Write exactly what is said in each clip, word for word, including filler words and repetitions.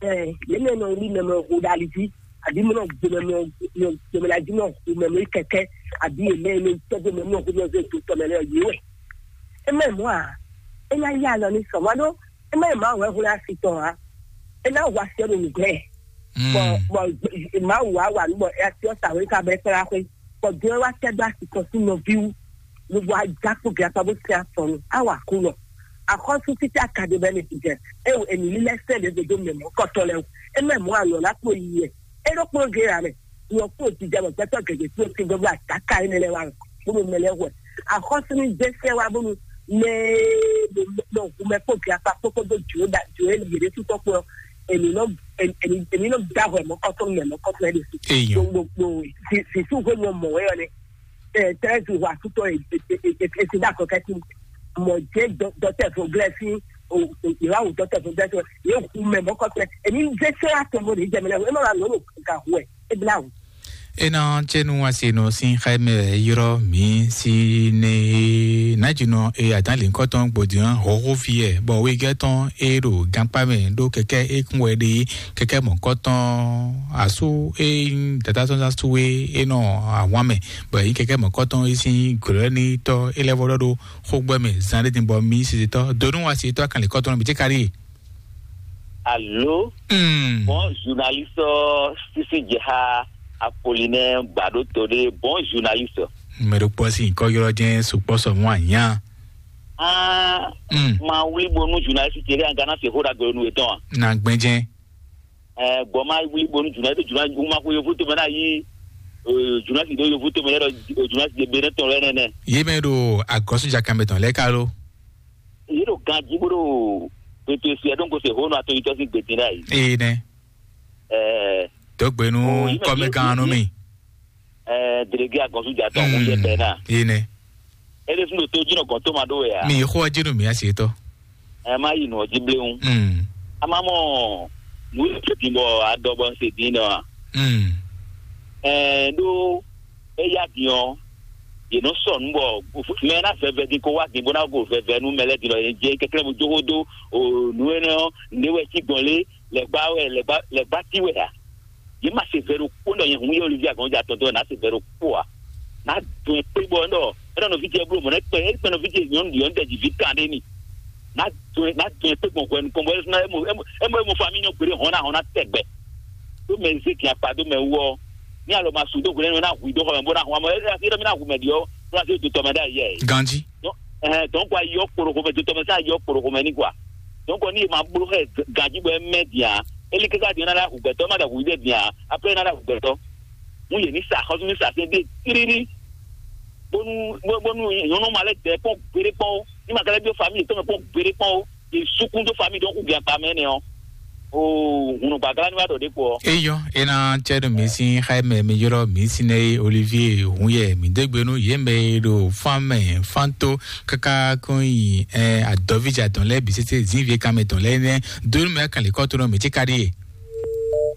Ɛ, yě mɛ nɔ wlí mɛ mɛ ho ɖo ali jí, àbí mɛ nɔ gbo mɛ mɛ, mɛ mɛ jí nɔ hu mɛ mɛ kɛkɛ, àbí yě mɛ nɔ tɔ́gbó mɛ mɛ ho mɛ zé do tɔ mɛ lɛ yě wɛ. É mɛ mɔ a, é ná yá alɔ ní sɔ mɔ ɖó, é mɛ ma wɛ hu ná si tɔn a, é ná hu asi ɔ́ ɖo nǔgbɛ. Bɔn bɔn Mawu wá wà nú bɔ é asi ɔ́ sa wé ká bɛ kplá xwé. Bɔ Dieu wá tɛ dó asi tɔn sín nɔví wú. Lobo ajá kpó gɛ́ akpá bó tɛ afɔ nu, á wà kú nɔ. Axɔ́sú títí akadé bɛ́ ní jɛ, é wò ènì lílɛ́ sɛ́ ɖě dodó mɛ mɔ̌ kɔtɔ́ lɛ́ɛ wò. É mɛ mɔ̌ anɔ ná kpo yi yɛ. É ɖó kplɔ́n gé ya mɛ. Nyɔ kpo jijɛ mɔ gbɛtɔ́ gɛgɛ kpo ti gbɛgbɛ ataka énɛ́ lɛ́ɛ wá. Bónú mɛ lɛ́ɛ hwɛ. Axɔ́sú ní zé sɛ́ wá bónú mɛ ɖo hu mɛ kpo gɛ́ akpá kpókpó dó jǒ da jǒ é yě ɖésú tɔ́ kpó ɔ́. Ènì nɔ ènì nɔ da hwɛ mɔ̌ kɔtɔ́ mɛ mɔ̌ kɔtɔ́ é ɖésú. Èèyàn. Gbogbo sìsú hwé mɔ mɔ̌ wɛ ɔ́ nɛ. Tɛ́nɛ́ ti hu asútɔ esi ɖo akɔ kɛ́tí mɔ jẹ́ dɔtɛ́ fún glɛ́sí ìwà wò dɔtɛ́ fún glɛ́sí yé hu mɛ mɔkɔtɛ èmi ń dé sẹ́ àtẹ̀mọ́ ní jẹ́mi lẹ́wọ̀ ẹ má ba lọ́nà gà hu ẹ̀ ẹ bí láwù. Ena cenu asinu sin xɛmɛ yɔrɔ mi si ne najunɔ e adan le nkɔtɔn gbodian hoho fi ɛ bɔ wegɛ tɔn e ɖo gankpa mɛ ɖo kɛkɛ e kún wɛ ɖe kɛkɛ mɔ kɔtɔn asu e dada sɔn asu e e nɔ awan mɛ bɔ yi kɛkɛ mɔ kɔtɔn e sin glɔ ni tɔ e lɛ vɔ ɖɔ ɖo xogbɛ mɛ zan ɖe din bɔ mi sisi tɔ donu asi tɔ kan le kɔtɔn bi te kari. Alo. Mm. Bon journaliste, sisi jeha Apollinaire Gbado Tode, bon journaliste. Mɛ ɖo kpɔ si kɔ yɔrɔ jɛ sukpɔ sɔ mu anya. Ah. Mm. Ma wuli bonu journaliste tele an gana se hoda gbenu etɔn. Na gbɛnjɛ. Eh, gbɔ ma wuli bonu journaliste journaliste ma ko yovo to mɛ na yi. Eh, journaliste do yovo to mɛ yɛrɛ journaliste de bere tɔn lɛ nɛnɛ. Ye mɛ ɖo agɔsu jakamɛ tɔn lɛ kalo. Yìí ɖo ganjí bó ɖo gbètò èsì ẹ̀ ɖó ń gosè hónú atɔnyitɔ́ sín gbèdín náà yìí. Ee nɛ. Ɛɛ. Dɔgbenu. Kɔmɛ gan nɔ mi. Ɛɛ, délégué agɔnsu jà tɔn kún yɛ bɛɛ náà. Ee nɛ. Ele fún ɖo tó jínɔ gɔn tó ma ɖó wɛ a. Mi xó ɔjí nu mi asi tɔ. Ɛ má yi nù ɔjí bléwu. Mm. A má mɔ nù yìí tó dín bɔ adɔ bɔ ń se dín nɔ a. Mm. Ɛɛ ɖó eya din ɔ́, yě nɔ sɔ nǔ bɔ mɛ ná vɛvɛ din kó wá din bó ná go vɛvɛ nú mɛ lɛ́ɛ din lɔ yě jɛ kɛkɛ́ bó jó xó dó o nǔ énɛ́ ɔ́, nǔ é wɛ cí gbɔn lé lɛ̌gbá wɛ lɛ̌gbá lɛ̌gbá tí wɛ ǎ. Yě ma se vɛ ɖokpó ɖɔ nyɛ hun yɛ Olivia gɔn ja tɔn dɔn ná se vɛ ɖokpó ǎ. Ná dun ɛ kpé bɔ ɖɔ é nɔ nɔví ce bló mɔ̌ nɛ́ kpɛ é kpɛ nɔví ce nyɔ̌nu ɖi ɔ́ ɖɛ ji vǐ kan ɖé ni. Ná dun ɛ ná dun ɛ kpé gbɔn hwɛ nukɔn bɔ é mɔ é mɔ é mɔ famí nyɔ gbeɖé hɔn ná hɔn ná tɛgbɛ. Ɖó mɛ zé gin akpa dó mɛ wú ɔ́, ní alɔ ma su dó hwlɛ́nú ná hu i dó xɔ mɛ bó ná hu amɔ é é mi ná hu mɛ ɖi ɔ́ bó ná zé do tɔmɛ ɖó ayɛ. Ganji. Ɛɛ dɔn kɔ ayi ɔ́ kporo xomɛ do tɔmɛ sá ayi ɔ́ kporo xomɛ ní kɔ a. Dɔn kɔ ní e ma bló xɛ ganji bɔ é mɛ din a, é lé ké ká din ɔ́ ná lɛ́ hu gbɛtɔ́ é má dɛ hu i dé din a, après é ná lɛ́ hu gbɛtɔ́. Mú yě ní sa xɔ́sú ní sa sɛn dé tírírí. Bónú bónú nyɔ̌nu ma lɛ́ dɛ kpɔ́n gbeɖé kpɔ́n ó. Ní ma ka lɛ́ dó famille yětɔn mɛ kpɔ́n gbeɖé kpɔ́n ó. Yě sukún dó famille ɖɔhun gbɛn akpa mɛ nɛ ɔ́. Oo, hunu gbàgbá ní wá ɖɔ ɖě kpɔ. Eyɔ ena cɛ ɖo mi sin xaimɛ mi yɔrɔ mi sin ne Olivier hun yɛ mi dégbe nú yě mɛ e ɖo fan mɛ fan tó kaka kɔn yi ɛ adɔvija tɔn lɛ bisese zinvie kan mɛ tɔn lɛ nɛ donu mɛ kan lè kɔ to nɔ mi tsi ka ɖi ye.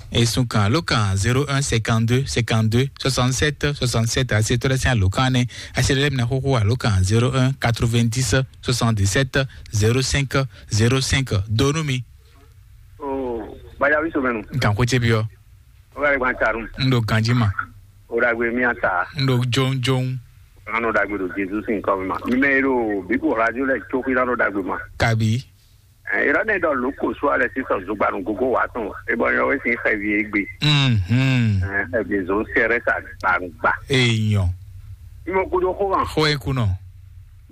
Esun kan alo kan zéro un cinquante-deux cinquante-deux soixante-sept soixante-sept ase tɔ lɛ sin alo kan nɛ ase lɛ mina xoxo alo kan zéro un quatre-vingt-dix soixante-dix-sept zéro cinq zéro cinq donu mi. Oh, Baya wi somenu. Nkan ko ce bi ɔ. O ka gban tarum. N ɖo ganji ma. O ɖagbe mi ata. N ɖo jɔnjɔn. An ɖo ɖagbe ɖo Jesu sin kɔ ma. Mi mɛ ɖo bibu radio lɛ tso xi na ɖo ɖagbe ma. Kabi. Ɛ, irɔ ne ɖɔ loko so alɛ sisan zogbanu gogo wa tɔn. E bɔ yɔ we sin xɛvi egbe. Mhm. Ɛ, xɛvi zɔn sɛrɛ sa gbangba. Eyɔn. Imo kudo xo ma. Xo e kunɔ.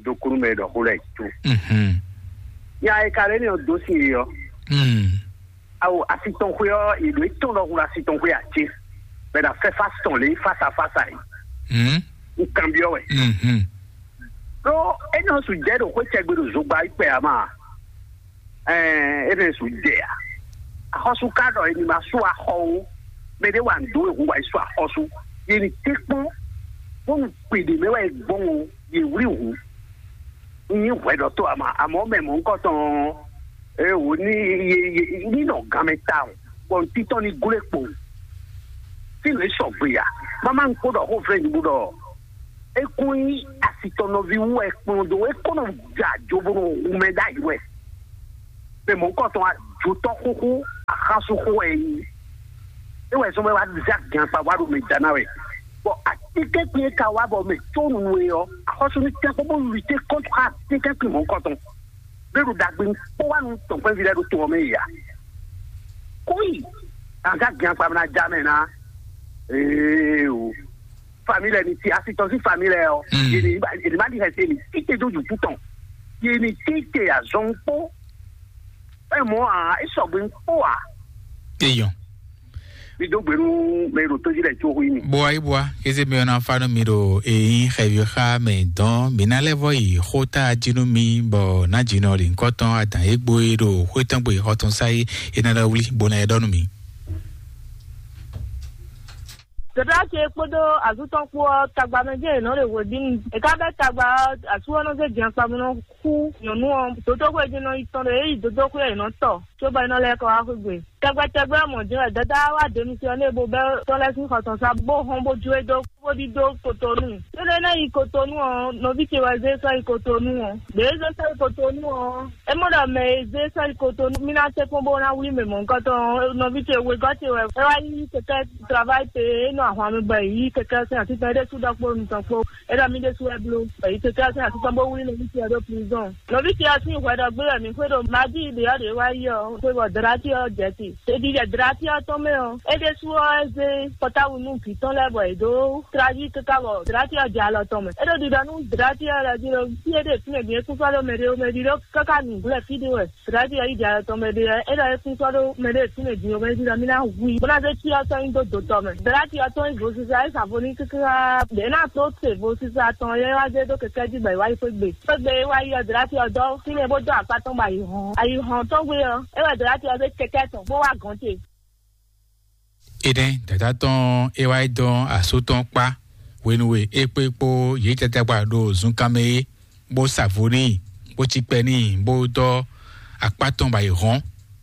Do kunu mɛ ɖɔ xo lɛ tso. Mhm. Nya e ka lɛ ne o do sin yɔ. Mm. Awo asitɔnxwe ɔ́, è ɖǒ é tɔn ɖɔhun ɖo asitɔnxwe ǎ cé? Bɔ è nǎ fɛ́ fásitɔn lě fása fása é. Hmm? Un kanbyɔ́ wɛ. Mhm. Ɖó é nɔ su jɛ ɖo xwé cɛgbe ɖo zogba yi kpɛ ǎ ma. Ɛɛ, é nɔ su jɛ ǎ. Axɔ́sú ka ɖɔ è ní ma sú axɔ ó. Mɛ ɖé wa nǔ dó wɛ hu wa yi sú axɔ́sú. Yě ní té kpɔ́n, bónú gbeɖě mɛ wɛ è gbɔn o, yě wlí hǔn. Nyi hwɛ ɖɔ tó ama amɔ mɛ mɔ ŋkɔ tɔn. E wo ni ye ye ni nɔ gan mɛ ta o. Bɔn titɔ ni glo kpo. Ti le sɔgbe ya. Mama ŋkpo ɖɔ xo vɛ nyi bo ɖɔ. Ekun yi asitɔ nɔvi wu wɛ kplɔn do e kɔnɔ ja jo bo nɔ wu mɛ ɖ'ayi wɛ. Mɛ mɔ ŋkɔ tɔn ajotɔ xoxo. Xasu xo wɛ é nyí. É wɛ zɔn bɔ é wá zé agǎnkpa wá ɖo mɛ da ná wɛ. Bɔ atínkɛnkwín e ka wá bɔ mɛ có nunu é ɔ́, axɔ́sú ní tɛ́nkpɔ́n bó luté kɔ́ntr atínkɛnkwín mɔ̌hunkɔtɔn. Bó ɖo ɖagbe kpó wá nú tɔn kpɛ́nví lɛ́ɛ ɖo to ɔ́ mɛ yi a? Kóyi, agǎn agǎnkpa ná já mɛ ná. Ee o. Família ni ti asi tɔn sín família ɔ. Mm. Yéni yéni má di hɛsɛ ni títí dó dùkú tɔn. Yéni títí azɔn kpó. É mɔ a é sɔgbe kpó a. Eyɔn. Mi dó gbenu mɛ ɖo tójú lɛ tso hu mi. Boa yi boa, kéze mi ɔna fa nú mi ɖo eyin xɛvi xa mɛ dɔn mi ná lɛ vɔ yi xó ta jí nú mi bɔ ná jí nɔ lǐnkɔtɔn adǎn e gbo e ɖo xwé tɔn gbe xɔtɔn sa yi e ná lɛ wlí bo ná yɛ ɖɔ nú mi. Dɔ̌dɔ́ ce kpódó azú tɔn kpó ɔ́, tagba mɛ jẹ́ è nɔ ɖe hwebǐnu. È ká bɛ́ tagba ɔ́, asú ɔ́ nɔ zé jɛnxpamɔ nɔ xú nyɔ̌nu ɔ́, dǒdóxwé jí nɔ yi tɔn ɖo é yi dǒdóxwé è nɔ tɔ, cóbɔ é nɔ lɛ́ kɔ wá xwé gbe. Tɛgbɛ tɛgbɛ ɔ́ mɔ̌ jɛ́n wɛ Dada wá demisiyɔnɛ́ bó bɛ́ tɔ́ lɛ́ɛ sín xɔ tɔn sá bó hɔn bó jó e dó bó ɖidó Kotonu. Énɛ́ ná yi Kotonu ɔ́, nɔví ce wɛ zé sɔ́ yi Kotonu ɔ́. Ɖě é zé sɔ́ yi Kotonu ɔ́, é mɔ ɖɔ mɛ e zé sɔ́ yi Kotonu mí ná tɛ́nkpɔ́n bó ná wlí mɛ mɔ̌hunkɔtɔn ɔ́, nɔví ce wegɔ́ ce wɛ é wá yí kɛkɛ́ travail pé é nɔ ahwan mi bɔ è yí kɛkɛ́ sín atitɔn é ɖésú ɖɔ kpó nutɔn kpó. É ɖɔ mí ɖésú wɛ bló, bɔ è yí kɛkɛ́ sín atitɔn bó wlí nɔví ce ɔ́ ɖó prison. Nɔví ce ɔ́ sín hwɛ ɖɔ gbé wɛ mǐ xwé ɖo Madi ɖě ɔ́ ɖě wá yi ɔ́, xwé bɔ Dɔ̌ɖáti ɔ́ jɛ te. Ɖeɖi jɛ Dɔ̌ɖáti ɔ́ tɔn mɛ ɔ́, é ɖésú ɔ́ é zé pɔtáwu nú vǐ tɔn lɛ́ɛ bɔ è dó trájí káká bɔ Dɔ̌ɖáti ɔ́ jɛ alɔ tɔn mɛ. É ɖo ɖiɖɔ nú Dɔ̌ɖáti ɔ́ lɛ́ɛ jí ɖɔ fí e ɖe fínɛ́ din é kún sɔ́ ɖó mɛ ɖé ó, mɛ ɖi ɖó káká nǔgbó lɛ́ɛ fí ɖé wɛ. Sirati ɔ́ yi jɛ alɔ tɔn mɛ ɖe ɔ́, é ɖɔ é kún sɔ́ ɖó mɛ ɖé fínɛ́ din ɔ́ mɛ ɖi ɖɔ mí ná hu i, bó ná zé cyɔ tɔn nyi dó dǒ tɔn mɛ. Sirati ɔ́ tɔn yi vo sisa é sa vo n'i káká ɖě ná tó te vo sisa tɔn é wá zé dó kɛkɛ́ jí bɔ è wá yi xwé gbe. Xwé gbe é wá yi ɔ́, Sirati ɔ́ dɔ́ fínɛ́ bó dó akpá tɔn bɔ ayǐ hɔn. Ayǐ hɔn tɔn gbe ɔ́, é wɛ Sirati ɔ́ zé kɛkɛ́ tɔn bó wá gɔ̌n ce. Énɛ́ dada tɔn é wá yi dɔn asú tɔn kpá hwenu e é kpé kpó yě tɛtɛkpa ɖo zunkanmɛ é, bó sa vo n'i, bó cí kpɛ n'i, bó dɔ́ akpá tɔn ba yi hɔn,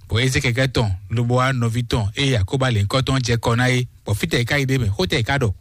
bɔ é zé kɛkɛ́ tɔn lobo wá nɔví tɔn e Yakoba lěhunkɔtɔn jɛ kɔ ná é, bɔ fítɛ́ è ká yi ɖ'é mɛ, xó tɛ́ è ká ɖɔ?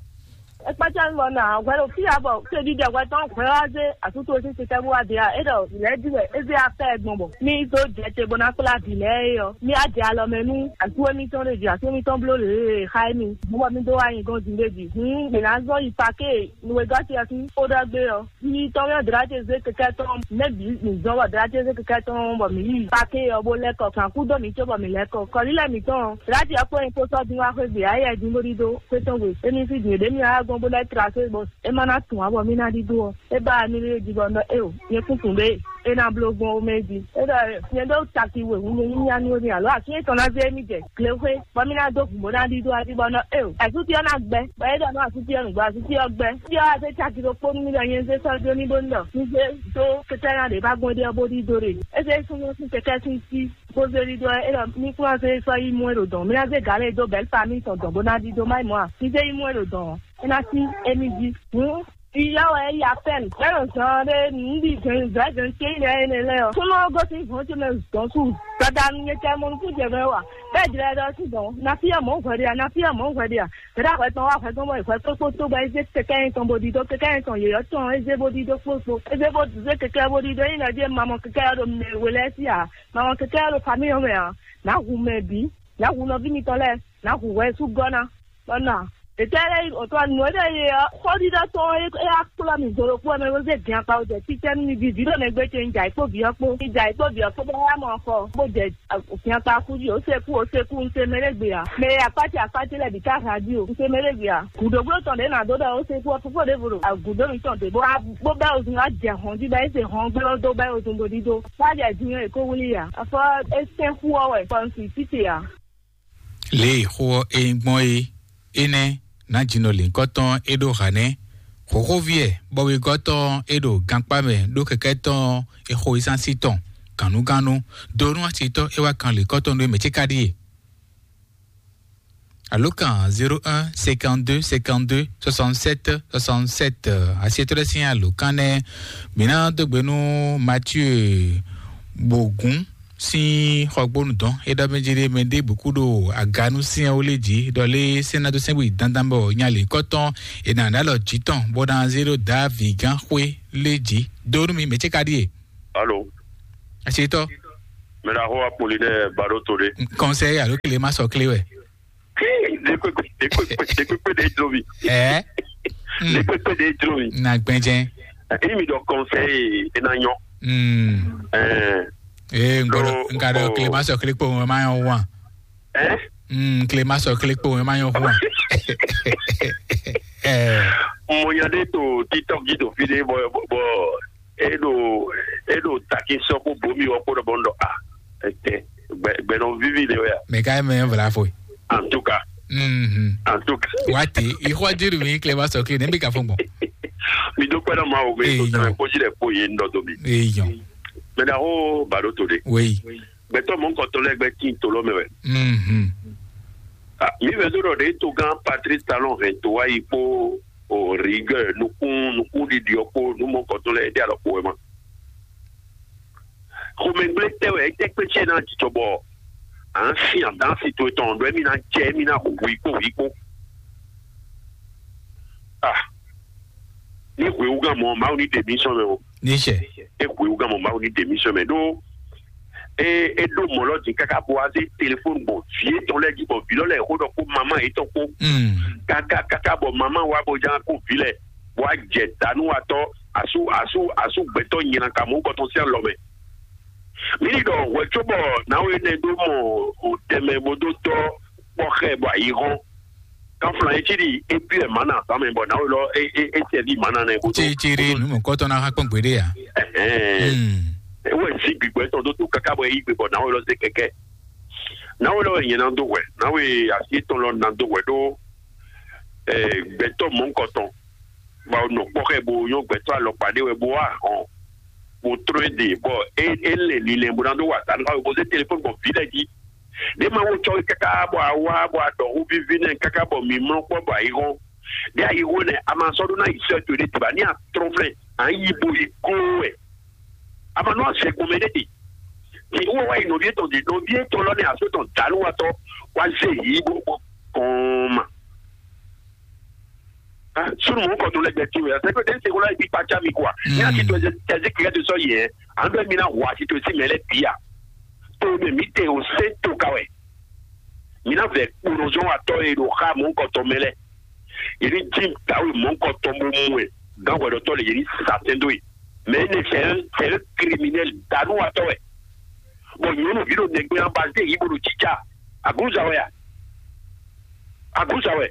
É kpácá mi bɔ nɔ hwɛ ɖo fí ǎ bɔ tódídɛ hwɛ tɔn hwɛ wá zé asútó sín titɛ́ bó wá dě ǎ. É ɖɔ vǐ lɛ́ɛ jí wɛ é zé afɛ gbɔn bɔ mí dó jɛ te bó ná kplá vǐ lɛ́ɛ é ɔ́, mí á jɛ alɔ mɛ nú asú émítɔn ɖé jí, asú émítɔn bló lě e xa émí. Mɔ̌ bɔ mí dó wá nyi gɔ́n din ɖé jí. Hǔn mǐ ná zɔ́n yi paké nǔwegɔ́ ce ɔ́ sín xó ɖɔ gbé ɔ́. Yi tɔn mɛ Dratizé kɛkɛ tɔn mɛ bǐ mǐ zɔn bɔ Dratizé kɛkɛ tɔn bɔ mǐ yi pake ɔ́ bó lɛ́ kɔ kan kú dó mǐ cóbɔ mǐ lɛ́ kɔ. Kɔlílɛ mǐtɔn Drati ɔ́ kpó nyí kpósɔ́ dín wá xwé gbe ayɛ dín bó ɖídó xwé tɔn gbe. Émi fí din ɖě mì wá gbɔn bó lɛ́ trasé bɔ é má ná tún ǎ bɔ mí ná ɖídó ɔ́. É ba mi lé jí bɔ nɔ éo, nyɛ kún tún ɖé é ná bló gbɔn ó mɛ jí. É ɖɔ nyɛ ɖó taki we wu nyɛ nyínya nú émi alo asin tɔn ná zé émi jɛ glexwé bɔ mí ná dó gǔn bó ná ɖídó adi bɔ nɔ éo. Asúti ɔ́ ná gbɛ, bɔ é ɖɔ nɔ asúti ɔ́ nǔgbó asúti ɔ́ gbɛ. Fí ɔ́ wá zé caki ɖokpó nú mì ɖɔ nyɛ zé sɔ́ dó ní bó ní ɖɔ ní zé dó kɛkɛ́ ná ɖě bá gbɔn ɖé ɔ́ bó ɖídó ɖe. É zé súnnu sín kɛkɛ́ sín sí bó zé ɖídó ɔ́, é ɖɔ mí kún wá zé sɔ́ yí mú é ɖo dɔ̌n. Mí ná zé gǎn lɛ́ɛ dó bɛ̌l famíli tɔn dɔ̌n bó ná ɖídó má yi mɔ̌ a? Ní zé yí mú é ɖo dɔ̌n ɔ́, é ná sí émí jí. Hǔn Iyá wɛ yí apɛ́n bɛ́ nɔ zɔn ɖé nǔɖi gɛ̌nzɛ̌gɛ̌n céyí lɛ́ɛ énɛ́ lɛ́ɛ ɔ́. Súnnu ɔ́ gosín hɔn ce mɛ zɔn su. Dada nu nyɛ tɛ mɔ nukún jɛ mɛ wa. Bɛ́ jlɛ ɖɔ sí dɔn. Na fí ɔ́ mɔ̌ hwɛ ɖe a? Na fí ɔ́ mɔ̌ hwɛ ɖe a? Dada hwɛ tɔn wá hwɛ tɔn bɔ hwɛ kpókpó tó bɔ é zé kɛkɛ yɛn tɔn bó ɖi dó kɛkɛ yɛn tɔn yě ɔ́ tɔn é zé bó ɖi dó kpókpó. É zé bó zé kɛkɛ bó ɖi dó nyí nɔ jí ma mɔ kɛkɛ ɔ́ ɖo mɛ we lɛ́ɛ sí a? Ma mɔ kɛkɛ ɔ́ ɖo famíli ɔ́ mɛ a? Nǎ hu mɛ bǐ. Nǎ hu nɔví mitɔn lɛ́ɛ. Nǎ hu hwɛ sú gɔ́ ná. Bɔ nɔ, ɖětɛ́ lɛ́ɛ yi ɖo tɔ́ nǔ e ɖɔ yě ɔ́, xɔ́ɖiɖɔ tɔn e é wá kplɔ́ mì do ɖokpó ɔ́ mɛ bó zé din akpa wǒ jɛ títɛ́ nú mi ví, vǐ ɖo nɛgbé ce un jɛ ayǐ kpó vǐ ɔ́ kpó. Un jɛ ayǐ kpó vǐ ɔ́ kpó bó wá mɔ xɔ, bó jɛ din akpa kú jí, ó se kú, ó se kú, un se mɛ ɖé gbe ǎ. Mɛ e akpá ce akpá ce lɛ́ɛ bǐ ká hǎ jí o, un se mɛ ɖé gbe ǎ. Gǔdobló tɔn ɖě nǎ dó ɖɔ ó se kú ɔ́, fofó ɖěvo ɖo agǔdo mǐtɔn ɖě bó wá bó bɛ́ ozun wá jɛ hɔn jí bɔ é se hɔn gbé ɔ́ dó bɛ́ ozun bo ɖídó. Wá jɛ din ɔ́, è kó wlí ǎ. Afɔ é sɛ́n xú ɔ́ wɛ, fɔ un sì títì ǎ. Lě e xó ɔ́ é nyí gbɔn é, énɛ́ nǎ jinɔ lǐnkɔ́tɔn é ɖó hanɛ́. Xǒxóví ɛ bɔ wegɔ́tɔn é ɖo gankpá mɛ ɖó kɛkɛ́ tɔn é xo yísánsí tɔn gǎnnugánnu dó nú asitɔ́ é wá kan lǐnkɔ́tɔn nú é mɛ ce ká ɖíe. Alǒkan zéro un cinquante-deux cinquante-deux soixante-sept soixante-sept, asietɔ́ lɛ́ɛ sín alǒkan nɛ́. Mǐ ná dó gbe nú Mathieu Bogún sín xɔgbónu dɔn é ɖɔ mɛ jí ɖé mɛ ɖěbǔ kú ɖo aganú syɛ́nwó lé jí ɖɔ lé sɛ́n ná dó sɛ́n bó yi dandan bɔ nya lǐnkɔ́tɔn è nǎ ɖó alɔ jǐ tɔn bó ná zé ɖó Davi gán xwé lé jí. Dó nú mi mɛ ce ka ɖíe. Alo. Asitɔ. Mɛ ɖaxó Apolinɛ Baɖo to ɖé. Conseil alo clé ma sɔ clé wɛ. Ɖekpekpe ɖe jlo mi. Ɛ. Ɖekpekpe ɖe jlo mi. Na gbɛnjɛ. Emi ɖɔ conseil e na nyɔ. Mm. Ɛɛ. Ee, n ka ɖɔ clé ma sɔ clé kpo ma nyɔ wan. Ɛ. Mm, clé ma sɔ clé kpo ma nyɔ wan. Ɛ. Mo nya ɖe to TikTok ji do fi ɖe bɔ bɔ e ɖo e ɖo taki sɔ kó bomi wɔ kó ɖɔ bɔ n ɖɔ a, ɛtɛ gbɛ gbɛ nɔ vivi ɖe wɛ a. Mɛ ka mɛ vla fo. En tout cas. Mhm. En tout cas. Wati, ixɔ jiru mi clé ma sɔ clé ne bi ka fo gbɔn. Mi do kpɛ nɔ ma o mi to sɛmɛ kpɔji ɖe kpo ye n dɔ do mi. Eyɔn. Mɛ ɖaxó Baɖo to ɖe. Oui. Gbɛtɔ mɔnkɔtɔ lɛ gbɛ tin to lɔ mɛ wɛ. Mhm. Ah, mi vɛ do ɖɔ ɖe to gán Patrice Talon hɛn to wá yi kpó o rigueur nukún nukún ɖiɖi ɔ kpó nu mɔnkɔtɔ lɛ ɖe alɔ kpó wɛ ma. Xomɛgblé tɛ wɛ, é tɛ kpé cɛ ná jijɔ bɔ à ń sin àdán si to etɔn ɖɔ émí ná jɛ émí ná hu i kpó hu i kpó. Ah, ní hwewúgán mɔ Mawu ní ɖe mǐ sɔn mɛ o. Ní sɛ. É hwewúgán mɔ Mawu ní ɖe mǐ sɔn mɛ ɖó é é ɖó mɔ̌ lɔ din káká bó wá zé telefóni gbɔn vǐ étɔn lɛ́ɛ jí bɔ vǐ lɔ lɛ́ɛ xó ɖɔ kpó mamá yětɔn kpó. Mm. Káká káká bɔ mamá wá bó ján kó vǐ lɛ bó wá jɛ dǎnúwatɔ́ asú asú asú gbɛtɔ́ nylaka mɔ̌hunkɔtɔn sín alɔ mɛ. Mǐ ní ɖɔ hwɛ cóbɔ nǎwe énɛ́ ɖó mɔ o tɛnmɛ bó dó dɔ́ kpɔ́ xɛ bɔ ayǐ hɔ́n. Kanflan e cí ɖi é byɔ́ ɛ mǎ na azǎn mɛ bɔ nǎwe lɔ é é é sɛví mǎ na nɛ bó dó. Círícírí nǔ mɔ̌kɔtɔn ná hán kpɔ́n gbeɖé ǎ. Ɛhɛn. Hmm. É wɛ sí gbigbɔ étɔn dó tó káká bɔ é yí gbe bɔ nǎwe lɔ zé kɛkɛ. Nǎwe lɔ wɛ nyɛ ná dó hwɛ. Nǎwe asi étɔn lɔ ná dó hwɛ ɖó ɛ gbɛtɔ́ mɔ̌hunkɔtɔn. Bɔ nɔ kpɔ́ xɛ bo nyɔ́ gbɛtɔ́ alɔkpa ɖé wɛ bo wá hɔn. Bo tró é ɖe bɔ é é lɛ linlɛn bo ná dó wa ta nú awe bo zé telefɔni gbɔn vǐ lɛ́ɛ jí. Ɖé ma wo cɔ́ káká bɔ a wá bɔ a ɖɔ hú víví nɛ káká bɔ mi mlɔ́ kpɔ́ bɔ ayǐ hɔn. Ɖé ayǐ hɔn nɛ a ma sɔ́ ɖó ná yi sɛ́ towe ɖé diba ní a trɔ́n flɛ́ a yi bo yi gló wɛ. A ma nɔ azɛ gbɔn mɛ ɖé ɖe. Ti wɔ wá yi nɔví etɔn ɖe nɔví etɔn lɔ nɛ aso tɔn dǎlúwatɔ wá zé yi bó bó kɔn ma. Sunu mɔ̌hunkɔtɔn lɛ́ɛ gbɛ towe, c'est que den seko la yi kpatsa mi quoi. Ní a ti to ɛzɛ tɛzi kɛkɛ to sɔ yɛ, an bɛ mi na hu a ti to si mɛ lɛ bi a. To mɛ mi te o se to ka wɛ. Mi na vɛ kponɔzɔn wa tɔ ye ɖo xa mɔ̌hunkɔtɔn mɛ lɛ. Yɛ ni ji dawe mɔ̌hunkɔtɔn bo mu wɛ. Gan hwɛɖɔtɔ le yɛ ni sa tɛn do ye. Mais ne c'est un c'est un criminel danu wa tɔ wɛ. Bon, nyɔnu vi ɖo nɛgbɛ an ba ze yi bo ɖo jija. Aguza wɛ ya. Aguza wɛ.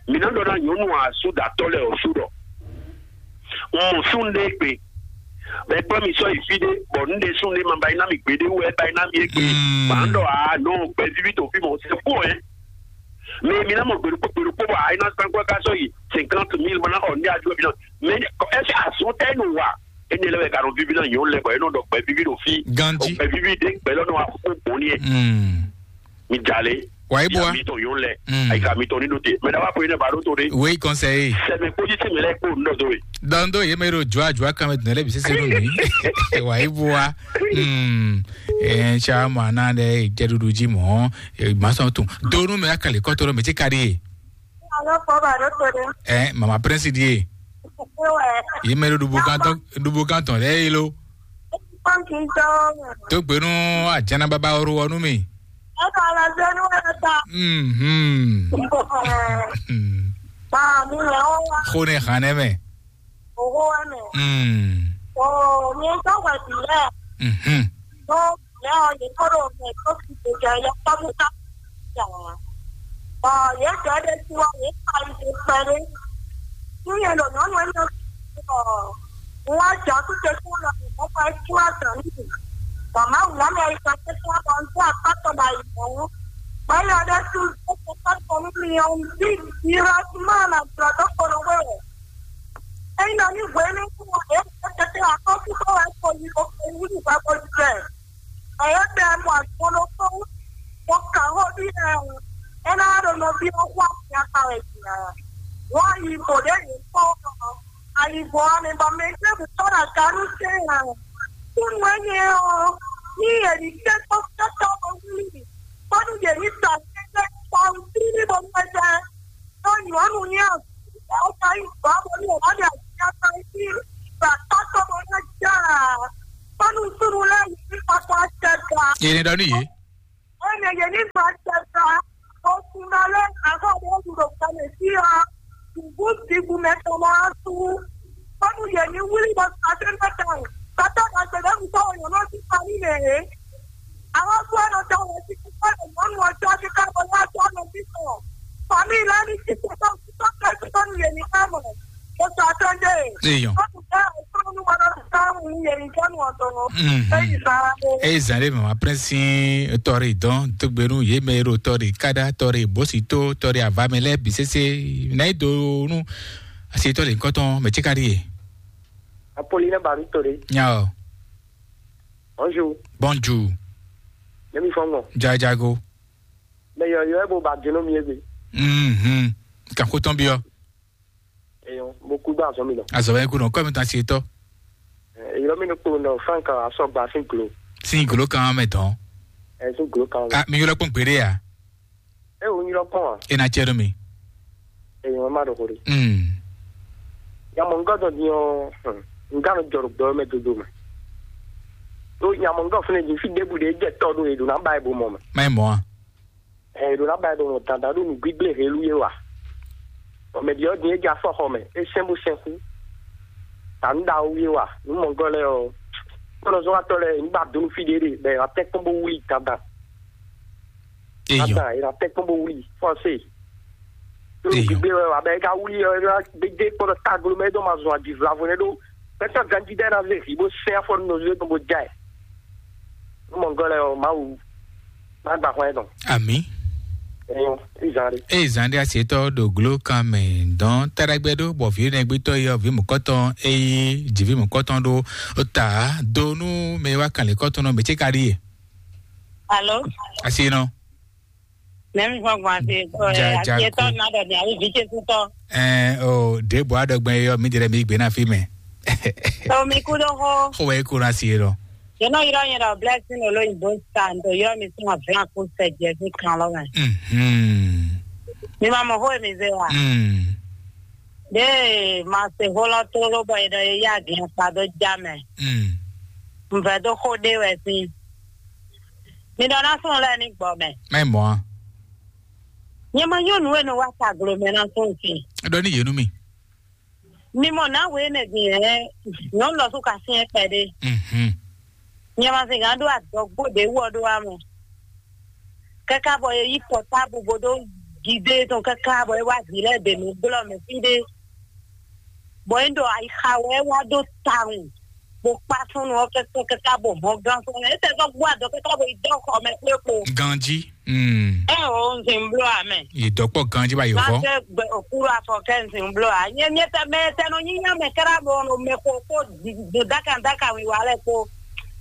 Mi na ɖɔ na nyɔnu asu ɖatɔ lɛ ɔsu ɖɔ. N mɔ sun ɖe gbe. Bɛ kpɔ mi sɔ yi fi ɖe, bɔ n ɖe sun ɖe ma ba yi na mi gbeɖe wɛ ba yi na mi egbe. Mm. Ba n ɖɔ a nɔ gbɛ vivi to fi mɔ se fo ɛ. Mais mi na mɔ gbeɖokpɔ gbeɖokpɔ bɔ a yi na san kɔ ka sɔ yi cinquante mille ma na xɔ n ɖe adu bi na. Mais est-ce que asun tɛ nu wa? Ene lɛ wɛ ka nɔ vivi na nyɔnu lɛ bɔ e nɔ ɖɔ gbɛ vivi ɖo fi. Gandhi. Gbɛ vivi ɖe gbɛ lɔ nɔ wa fo bɔn ni ɛ. Mm. Mi dza le. Wa yi bo wa. Mitɔn yɔn lɛ. Mm. Ayi ka mitɔn ni ɖo te. Mɛ na wa ko yi ne ba ɖo to de. Oui, conseiller. Sɛmɛ kpodzi ti mi lɛ kpo n dɔ do ye. Dɔn do ye mɛ ɖo jua jua kan mɛ dun lɛ bi sese nu mi. Wa yi bo wa. Mm. Eh, cha mo ana de jɛ dudu ji mo. Eh, ma sɔn tun. Donu mɛ akali kɔtɔ mɛ ti kari ye. Alo, fɔ ba ɖo to de. Eh, mama prince di ye. Ewe. Ye mɛ ɖo dubu kan tɔn, dubu kan tɔn lɛ ye lo. Pɔnki jɔ. To gbenu ajana baba oro wɔ nu mi. Eka la zenu eta. Mhm. Ba mi le o wa. Xo ne xan ne mɛ. Oho wa mɛ. Mm. O mi to wa bi le. Mhm. To le o ye ko ro me ko ki de ja ya pa mu ka. Ja. Ba ye ja de ti wa ye pa yi de pa de. Ni ye lo no no no. Wọ́n á jọ títí tí wọ́n lọ sí ìfọ́pá tí wọ́n sàn níbi. Màmá wù lámì ayípadé tí wọ́n bọ̀ ń tún àpá tọmọ àyìnbó. Báyọ̀ ọdẹ tún ó ti pẹ́ pọ̀ níbi ohun bí ìrọ̀ tí máa nà jọ tó polówó rẹ̀. Ẹyin náà ní ìwé ní fún wọn, èyí tó tètè àkọ́kú tó wà pọ̀ yìí, ó pè ní ìgbà pọ̀ jù bẹ́ẹ̀. Ẹ̀yẹ́ bẹ mọ àgbọ̀nlọ́kọ́, wọ́n kà ó bí ẹ̀hún, ẹ náà lọ lọ bí ó wà ní apá rẹ̀ jìnnà. Wọ́n yí bò lé yìí kó ọ̀rọ̀, àyìnbó àmì bọ̀ mí ṣé kò tọ́ra kanú ṣe é hàn. Kí ni wọ́n yẹ ọ́? Ní èyí tẹ́ tó tẹ́ tó wọ́n wí, kọ́dún yèmí tà tẹ́tẹ́ pa ohun tí ní mo fẹ́ jẹ́. Tó yọ̀ọ́nù ní ọ̀sán, ọ̀sán ìgbà mo ní ọ̀wádìí àti apá sí ìgbà tó tó mo fẹ́ jẹ́. Nusuru lɛ yi kpakpa tɛta. Yé ni ɖɔ nú yě. Ene yé ni ma tɛta. O kun na lɛ akɔ ɖe ɖu ɖo kame si ɔ. Kuku ti bu mɛ tɔn ma su. Kɔnu yé ni wuli bɔ sa tɛ mɛ tɔn. Kata ka gbɛ ɖe ŋutɔ o nyɔnɔ ti fa ni nɛ he. Àwọn tó ẹnu tó wọ́n ti kú fún ẹ̀mí mọ́nú ọjọ́ kíkà wọn láti ọ̀nà sísọ. Fàmí ìlànà ìṣẹ̀tọ́ tó tó tó tó tó nìyẹn ní kámọ̀. Ó sọ àtúndé. Èèyàn. Ó kù fẹ́ àìsàn olúwa lọ́dún táwọn nìyẹn ní jọ́nù ọ̀dọ́. Mhm. Èyí sára dé. Èyí zàn lé màmá prince tɔrí dán tó gbénu yé mɛ ro tɔrí kádà tɔrí bósító tɔrí àvámẹ́lẹ́ bí sésé náà donu àṣetọ́ lè kọ́tán mẹ́tíkárì yé. Apolline Barutore. Nyao. Bonjour. Bonjour. Nemi fɔngɔ. Jajago. Mɛ yɔyɔ ɛ bo ba dunu mi ebe. Mhm. Kan ko tɔn biɔ. Eyo, mo ku gba azɔ mi lɔ. Azɔ bɛ ku nɔ kɔ mi tan si etɔ. Eyo mi no kpo nɔ frank asɔ gba sin glo. Sin glo kan mɛ tɔn. Ɛ sin glo kan. Ah, mi yɔrɔ kpɔn gbede ya. E wo nyilɔ kpɔn a? E na cɛ ɖo mi. Eyo ma ɖo xori. Mm. Nyamɔngɔ dɔ din ɔ, nga no jɔ ɖo gbɛ mɛ dodo mɛ. Do nyamɔngɔ fúnɛ din fi ɖebu ɖe jɛ tɔ ɖo eɖo na ba ebo mɔ mɛ. Ma mɔ a? Ɛ eɖo na ba ebo mɔ dandan ɖo nu gbigble helu ye wa. Ɔ mɛ ɖiɔ din e jɛ afɔ xɔ mɛ, e sɛn bo sɛn xú. Ta nu ɖawo ye wa, nu mɔngɔ lɛ ɔ. Kpɔnɔ zɔn atɔ lɛ, nu ba donu fi ɖe ɖe, bɛ atɛ kpɔn bo wuli dandan. Eyo. Ata, e na tɛ́ kpɔ́n bó wlí fɔ́sé. Ɖo Eyo. Gbígbé wɛ wǎ bɛ é ka wlí ɔ́, é ná gbédé kpɔ́ ɖɔ taglo mɛ é dɔn ma zɔn adivla vo nɛ́ ɖó. Pɛ́tɔ́ ganjí ɖɛ́ ná zé hǐ bó sɛ́n afɔ nɔ zé dɔn bó já ɛ. Nú mɔ̌gɔ́ lɛ ɔ́, Mawu má gba xwɛ tɔn. Ami. Ɛyɔ, izan ɖe. Eye zan ɖé asetɔ ɖo glo kan mɛ dɔn taɖagbɛ ɖó bɔ vǐ nɛgbétɔ yi ɔ́ vǐ mɔ̌kɔtɔn eye jǐví mɔ̌kɔtɔn ɖó ta do nú mɛ e wá kan lě kɔ́tɔn nɔ mɛ ce ka ɖíe. Alo? Asi nɔ. Nɛmi fɔ gbɔn ase tɔ ɛ Ja- ase tɔ Jago. Na dɔ ni ayi vi ce tutɔ. Ɛɛ o ɖe bɔ aɖɔgbɛn yɔ mi ɖe mi gbe na fi mɛ. To mi ku ɖo xo. Xo wɛ ku na si lɔ. Yonɔ yɔrɔ yɛn dɔ blessing olo yibɔ san to yɔrɔ mi sún avlan kó sɛ jɛ sí kan lɔ mɛ. Mhm. Mi ma mɔ xo mi ze wa. Mm. De ma se xo lɔ to ló bɔ yɛ dɔ yɛ ya gɛn kpa dɔ ja mɛ. Mm. N vɛ dó xó ɖé wɛ sín. Mi ɖɔ ná sún lɛ́ɛ ní gbɔ mɛ. Mɛ mɔ a? Nyɛ ma nyɔ́ nǔ e nɔ wá taglo mɛ ná sún sin. Ɖɔ ní yě nú mi. Mi mɔ nǎ wě nɛ din hɛn nyɔ̌nu lɔ sú ka syɛ́n kpɛɖé. Mhm. Nyɛ ma sin gǎn ɖó adɔgbó ɖě wú ɔ ɖó wá mɔ. Kɛ́ká bɔ é yí pɔtábu bó dó gidé tɔn kɛ́ká bɔ é wá vǐ lɛ́ɛ ɖě nú glɔ́ mɛ fí ɖé. Bɔ é ɖɔ ayixa wɛ é wá ɖó tawun. Bó kpá súnnu ɔ́ kɛ́kɛ́ kɛ́kɛ́ bó hɔn gán sɔ́ mɛ. É tɛ sɔ́ gbó adɔ kɛ́kɛ́ bó yi dɔ́ xɔ mɛ kplé kpo. Ganji. Mm. Ɛ o, un sin bló amɛ. Yi dɔkpɔ ganji ba yi Má hɔ. Fẹ́ gbẹ òkúrò afɔ kɛ un sin bló a. Nyɛ nyɛ tɛ mɛ tɛ nɔ nyi nya mɛ kɛra bɔ nɔ mɛ ko ko do daka daka wi wa lɛ ko.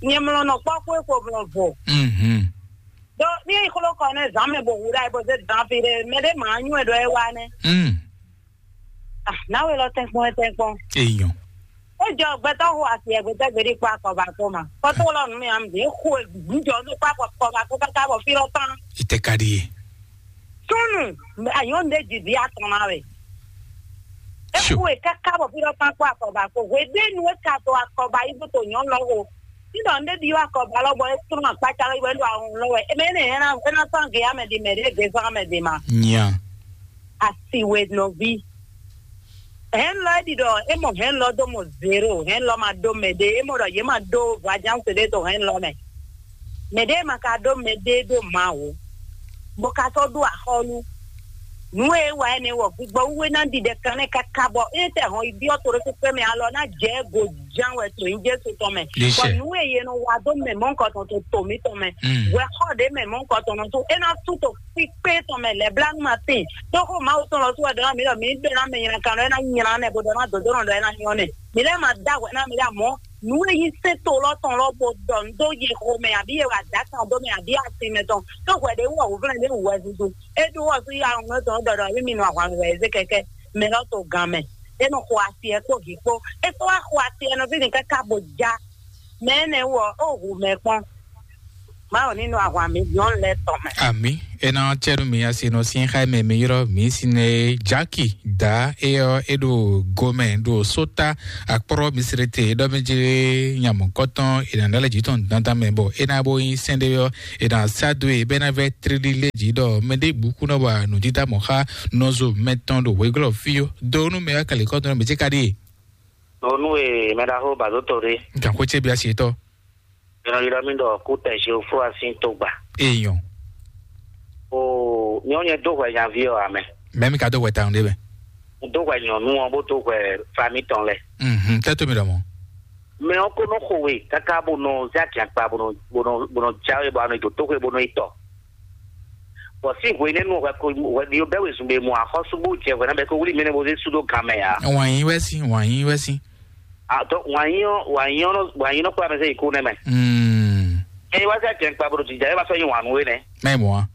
Nyɛ mlɔ nɔ kpɔ ko ko mlɔ vo. Mhm. Do ní ìkóló kɔ ní zan mɛ bò wúɖà ɛ bó zé dán fi ɖé mɛ ɖé màá nyú ɛ ɖɔ ɛ wá nɛ. Mm. Ah, náwó lɔ tɛnkpɔn ɛ tɛnkpɔn. Èèyàn. Ó jọ gbẹtɔ hu asi ẹ gbẹtọ gbèdé kpó akɔba kó ma. Kɔtó lɔ nù mí am dé xo gbúdjɔ ní kpó akɔba kó káká bɔ fí lɔ tán. Ìtẹ̀kadì yìí. Súnù, àyàn ń dé jìbí àtọ̀nà rẹ̀. Sure. Eku e kaka bɔ fi ɖɔ kpakpɔ akɔba ko hwe ɖe nu e ka to akɔba yi bo to nyɔ lɔ o. Ti dɔ nde bi wa akɔba lɔ bɔ e trɔ akpatsa lɔ yi wɛ do ahun lɔ wɛ. E mɛ ne hɛn na e na sɔn ge ame di mɛ ɖe ge sɔn ame di ma. Nya. Asi we nɔvi. Hɛn lɔ e ɖi ɖɔ e mɔ hɛn lɔ do mɔ zero, hɛn lɔ ma do mɛ ɖe, e mɔ ɖɔ ye ma do voidiance ɖe to hɛn lɔ mɛ. Mɛ ɖe ma ka ɖó mɛ ɖe ɖo Mawu, bó ka sɔ́ ɖó axɔ́ nú nǔ e é wa énɛ́ wɔ gbigbɔ wú é ná ɖiɖɛ kanlɛ́ káká bɔ é tɛ hɔn yi byɔ́ to ɖé kpékpé mɛ alɔ ná jɛ go ján wɛ to nyí Jesu tɔn mɛ. Bɔ nǔ e è nɔ wa dó mɛ mɔ̌hunkɔtɔn to to mǐtɔn mɛ, hwɛxɔ ɖě mɛ mɔ̌hunkɔtɔn nɔ sú é ná sú to kpíkpé tɔn mɛ lɛ̌blánu ma tíin. Tóxó Mawu tɔn lɔ sú wɛ ɖɔ ná mǐ ɖɔ mǐ ɖó ná mɛ nylá kan ɖɔ é ná nylá nɛ́ bó ɖɔ ná dǒdó nɔ ɖɔ é ná nyɔ́ nɛ́. Mǐ lɛ́ ma dó agu ná mǐ ɖɔ amɔ̌ nǔ e nyí sɛ́n to lɔ tɔn lɔ bo ɖɔ nǔ dó yi xo mɛ abǐ e wa dǎ kan dó mɛ abǐ asin mɛ tɔn, tó hwɛ ɖě wɔ wǔvlɛ́ ɖě wǔ wɛ zunzun. É ɖó wɔ sú ya ŋlɔ́ tɔn ɖɔ ɖɔ mí nɔ ahwan wɛ zé kɛkɛ mɛ lɔ to gan mɛ. É nɔ xo asi ɛ kpó vǐ kpó. É kpó wá xo asi ɛ nɔ fí ni káká bo já. Mɛ énɛ́ wɔ ó hu mɛ kpɔ́n. Mawu ní nɔ ahwan mi nyɔnu lɛ́ɛ tɔn mɛ. Ami, ena cɛɖu mi asi nɔ sin xa mɛ mi yrɔ mi sine Jaki da eyɔ eɖo gomɛ ɖo sota akpɔrɔ misirete ɖɔ mi jɛ nyamɔ kɔtɔn ena ɖale jitɔn dandan mɛ bɔ ena bo yin sɛnɖe yɔ ena sadu e bɛ na vɛ trili le ji ɖɔ mɛ ɖe bu kunɔ wa nudida mɔ xa nɔzo mɛtɔn ɖo hweglɔ fiyo do nu mɛ wa kali kɔtɔn mɛ jɛ ka ɖi. Nɔ nu e mɛ ɖaxo ba do to ɖe. Gan ko ce bi asi tɔ. Yɔnɔ yɔnɔ mi ɖɔ kú tɛ Jehofa sín togba. Eyɔn. O nyɔnyɛ do hwɛ nyaví ɔ amɛ. Mɛ mi ka do hwɛ tawun ɖe mɛ. N do hwɛ nyɔnu ɔ bó do hwɛ fami tɔn lɛ. Mhm, tɛ to mi ɖɔ mɔ. Mɛ ɔ ko nɔ xo we kaka bó nɔ zé akiakpa bó nɔ bó nɔ bó nɔ jáwé bó anɔ do tó xwe bó nɔ yi tɔ. Bɔ sí hwe nɛnu hwɛ ko hwɛ ɖi bɛ wezun bɛ mu axɔsu bó jɛ hwɛ na bɛ ko wuli mɛ ne bó zé su dó gan mɛ ya. Wǎn yí wɛ sí, wǎn yí wɛ sí. Atɔ wǎnyí ɔ́ wǎnyí ɔ́ nɔ wǎnyí nɔ kplá mɛ sɛ yi kú nɛmɛ. Mm. Eye wá sɛ jɛn kpa bolo jija e wá sɔ nyi wǎn nú we nɛ. Mɛ mɔ a.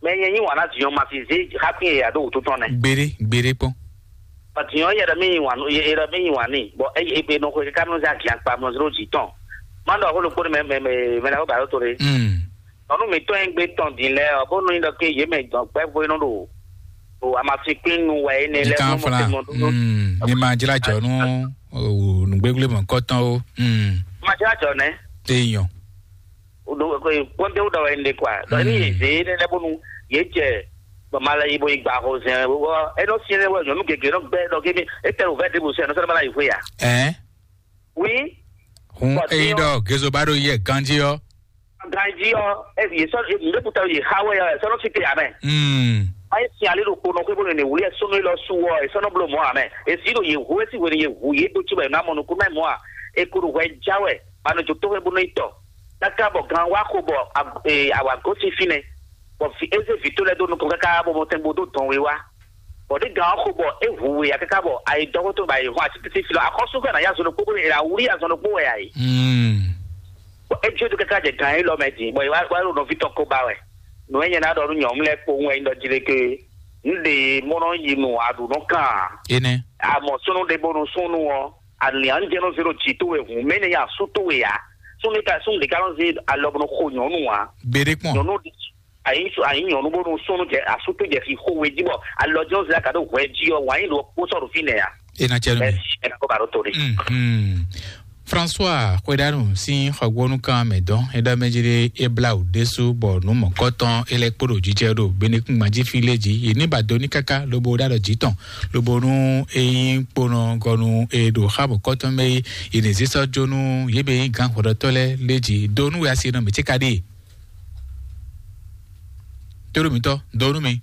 Mɛ nyɛ nyi wǎn ná dinyɔn ma fi zé xákún yɛ ya ɖó wǔtu tɔn nɛ. Gbére gbére kpɔn. Ba dinyɔn yɛ ɖɔ mí nyi wǎn nú yɛ ɖɔ mí nyi wǎn ní bɔ eye ebe nɔ xwe káká nɔ zé agian kpa mɔ zéro jì tɔn. Má ɖɔ xó ɖokpó mɛ mɛ mɛ mɛ ɖa xó ba ɖó to ɖe. Mm. Nɔnu mǐtɔn e gbé tɔn din lɛ́ɛ ɔ́, bónú nyí ɖɔ ké yě mɛ dɔn gbɛ́vú e nɔ ɖo ɖo amasinkwín nu wɛ énɛ́ lɛ́ɛ Nyikan mɔ flan. Mɔ Mm, ni ma jla jɔ nú o, nǔgbégblémɔ kɔtɔn o. Mm. Ma jla jɔ nɛ. Eyɔn. Kpɔnte wò dɔ wɛ énɛ́ kwa. Dɔ ní yě zé énɛ́ lɛ́ɛ bónú yě jɛ bɔ ma lɛ yi bo yi gba xɔ zɛn wɔ é nɔ syɛn wɛ nyɔnu gěgé nɔ gbɛ dɔ kémi é tɛ wò vɛ ɖěbǔ sɛ nɔ sɛ nɔ ma la yi xwé ya. Ɛ. Oui. Hun Bɔ eyín tiɲɔ- ɖɔ gezo ba ɖo yɛ ganjí ɔ. Ganji ɔ, e ye sɔ e nɖe kuta ye xa wɛ ɔ, e sɔ nɔ fi te amɛ. Mm. Ayi si ale ɖo kpo nɔ xwe bó nɔ ne wuli ɛ sɔnɔ lɔ su ɔ, e sɔ nɔ blo mɔ amɛ. E si ɖo ye hu e si hwenu ye hu ye ɖo tsi wɛ na mɔ nukun mɛ mɔ a, e ko ɖo hwɛ ja wɛ, ba nɔ jo to xwe bó nɔ yi tɔ. Kaka bɔ gan wa xo bɔ a- e awa gosi fi nɛ, bɔ fi eze vi to lɛ do nukɔn kaka bɔ mɔ tɛn bo do dɔn we wa. Bɔ ɖe gan ɔ xo bɔ e hu we ya kaka bɔ ayi dɔgɔtɔ ba yi hɔn ati titi fi lɔ akɔsu fɛ na ya zɔn ɖokpo bó nɔ e la wuli ya zɔn ɖokpo wɛ ayi. Mm. Bɔ é jó dó káká jɛ gǎn élɔ́ mɛ din, bɔ é wá wá ɖo nɔví tɔn ko ba wɛ. Nǔ e nyɛ ná ɖɔ nú nyɔ̌nu lɛ́ɛ kpowun wɛ nyí ɖɔ jí ɖé ké, un ɖe mɔ nɔ yi nɔ aɖǔ nɔ kan ǎ. Énɛ́. Amɔ súnnu ɖé bónú súnnu ɔ́, alǐanjɛ́nú zé ɖo jǐ towe hǔn, mɛ énɛ́ nyí asú towe ǎ. Súnnu ka súnnu ɖě ká nɔ zé alɔ bó nɔ xo nyɔ̌nu ǎ. Gbeɖé kpɔn. Nyɔ̌nu ɖé ayi su ayi nyɔnu bónú súnnu jɛ asú tó jɛ fi xó we jí bɔ alɔ jɔn zla ka ɖo hwɛ jí ɔ wǎn yí ɖo kpó sɔ́ ɖo fínɛ́ ya. E na cɛ nú mi. Mɛ kó ba ɖo to ɖe. Mhm. François xwedanu sín xɔgbónú kan mɛ dɔn é ɖɔ mɛ jí ɖé é blá wǔ ɖésú bɔ nǔ mɔ̌kɔtɔn é lɛ́ kpó ɖo jíjɛ ɖo benekúngban jí fí lé jí yě ní ba do ní káká lobo ɖó alɔ jí tɔn lobo nú é nyí kponɔ gɔnu é ɖo xá mɔ̌kɔtɔn mɛ é yě ní zé sɔ́ jó nú yě bɛ nyí gǎn xɔɖɔtɔ́ lɛ́ɛ lé jí do nú wɛ asi nɔ mǐ cé ka ɖe. Tóɖó mǐtɔn dɔwɔnú mi.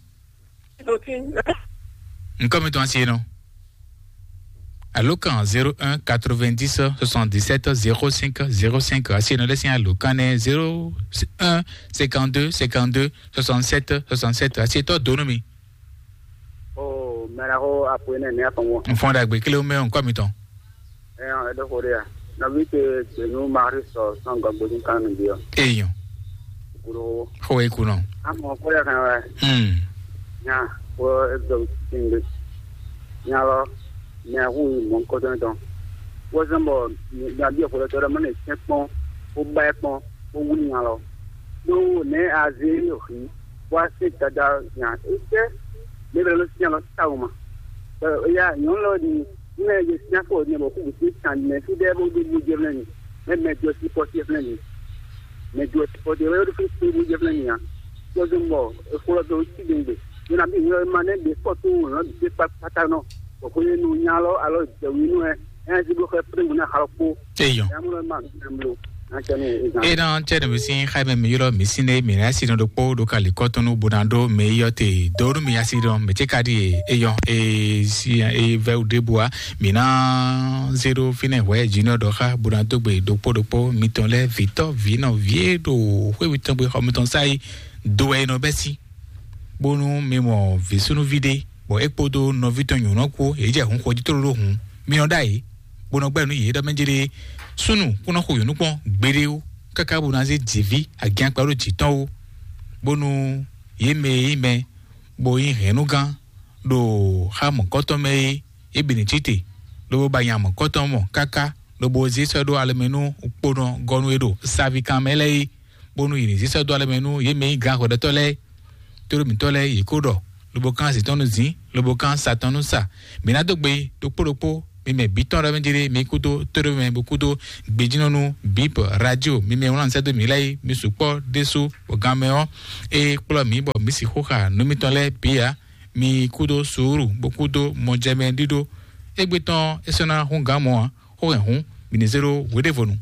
Nukɔn mi tɔn asi nɔ. Alo kan zéro un quatre-vingt-dix soixante-dix-sept zéro cinq zéro cinq asi nɔ lɛsìn alo kan nɛ zéro un cinquante-deux cinquante-deux soixante-sept soixante-sept asi tɔ donu mi. Oh, mɛra ko apo ne ne afɔnwɔ. Nfɔn dagbe kele mɛ nkɔ mi tɔn. Ɛɛ, ɛdɔ ko de ya. Nɔvi te gbenu mari sɔ sɔn gɔgbodun kan nu bi ɔ. Eyɔn. Kuro. Xɔ eku nɔ. Amɔ ko ya kan wɛ. Hmm. Nya ko edo sinde. Nya lɔ mɛ hu mɔ kɔtɔn tɔn. Ko sɔn bɔ nya bi ko tɔ dɔ mɛ ne sɛ kpɔn ko ba kpɔn ko wuli nya lɔ. Do ne aze yo hi. Wa se dada nya ete. Ne bɛ lo nya lɔ ta o ma. Ya nyɔnu lɔ di ne ye sia ko ne bɔ ku bi san ne fi de bo de bu je ne. Ne mɛ do si pɔ si ne. Mɛ do si pɔ de we do fi bu je ne ya. Ko zun bɔ e ko lɔ do si de de. Ye na bi nyɔ ma ne de ko tu no de pa pata no. Ko ko ye nu nya lɔ alo de wi nu e. Ɛn si bo xɛ pre mu na xalɔ ko. Eyɔn. Ya mu lɔ ma. Ena cɛ ne mi sin xaime mi yɔrɔ mi sin ne mi na si no ɖokpo ɖo kali kɔtɔnu bona ɖo mi yɔ te do nu mi asi dɔn mi tse ka ɖi eyɔn e si e vɛ ɖe bua mi na zero fine hwɛ dzi nɔ ɖɔ xa bona do gbe ɖokpo ɖokpo mi tɔn lɛ vitɔ vinɔ vie ɖo xwe mi tɔn gbe xɔ mi tɔn sa yi do wɛ nɔ bɛ si bonu mi mɔ vi sunuvi ɖe bɔ e kpodo nɔvi tɔn nyɔnɔ ko e jɛ hun xɔ ji tolo ɖo hun mi nɔ ɖa yi bó nɔ gbɛ́ nú yě ɖɔ mɛ jé ɖée súnnu kún ná xo yǒnú kpɔ́n gbeɖé ó káká bó ná zé jǐví agiankpa ɖó jǐ tɔn ó, bónú yě mɛ e nyí mɛ bó nyí hɛ̌nnúgán ɖo xá mɔ̌kɔ́tɔn mɛ é é bǐ ní cí te, lobo ba nya mɔ̌kɔ́tɔn mɔ káká, lobo zé sɔ́ ɖó alɔ mɛ nú kponɔ gɔ́nú e ɖo savíkan mɛ lɛ́ɛ é. bónú yě ní zí sɛ́ dó alɛ mɛ nú yě mɛ nyí gǎn hwɛɖɛtɔ́ lɛ́ɛ. Tóɖó mǐtɔn lɛ́ɛ yě kó ɖɔ, lobo kán azǐn tɔn nú zǐn, lobo kán sa tɔn nú sa. Mǐ ná dó gbe yi ɖokpó ɖokpó, mi mɛ bǐ tɔn ɖɔ mɛ jlé mi kúdó tóɖó mɛ bó kúdó gbejínɔnú bǐ bɔ radio mi mɛ wlán sɛ́ dó mǐ lɛ́ɛ yi, mi sukpɔ́ ɖésú bɔ gan mɛ ɔ́, é kplɔ́ mǐ bɔ mǐ sixú xa nǔ mitɔn lɛ́ɛ bǐ ǎ. Mi kúdó suúru bó kúdó mɔjɛmɛ ɖíɖó. Égbé tɔn é sɔ́ ná hún gǎn mɔ ǎ. Xó hɛn hǔn, mǐ ní zé ɖó hweɖévonu.